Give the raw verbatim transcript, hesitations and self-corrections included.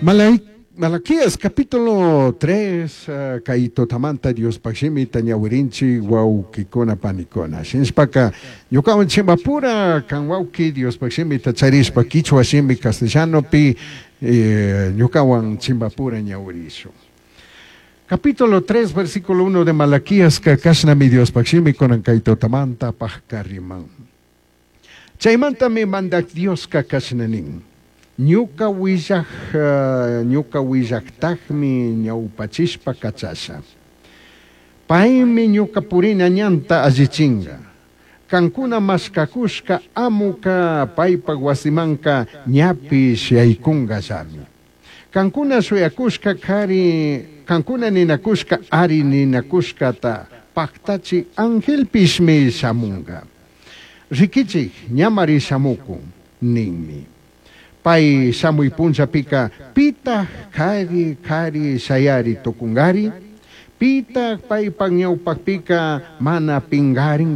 Malai Malaquías capítulo tres uh, kay tutamanta Diospaj shimita ñawirinchik wawkikuna panikuna. Shinashpaka ñukawan chimbapura kan wawki Diospaj shimita charishpa kichwa shimi castellanopi eh, ñukawan chimbapura ñawirishun. Capítulo tres, versículo uno de Malaquías, kashnami Diospaj shimi kunan kay tutamanta pajkariman. Chaymantami mandak Dioska kashna nin. Ñuka willaj, uh, ñuka willajtajmi ñawpachishpa kachasha. Paymi ñuka purina ñanta allichinga. Kankuna mashkakushka amuka paypak wasimanka ñapish yaykunkallami. Kankuna shuyakushka kari, kankuna ninakushka ari ninakushkata paktachi angelpishmi shamunga. Rikichik ñamari shamukun ninmi. Pay shamuy punllapika pitah kari kari shayari tukungari, pitah paypak ñawpakpika mana pingaringari.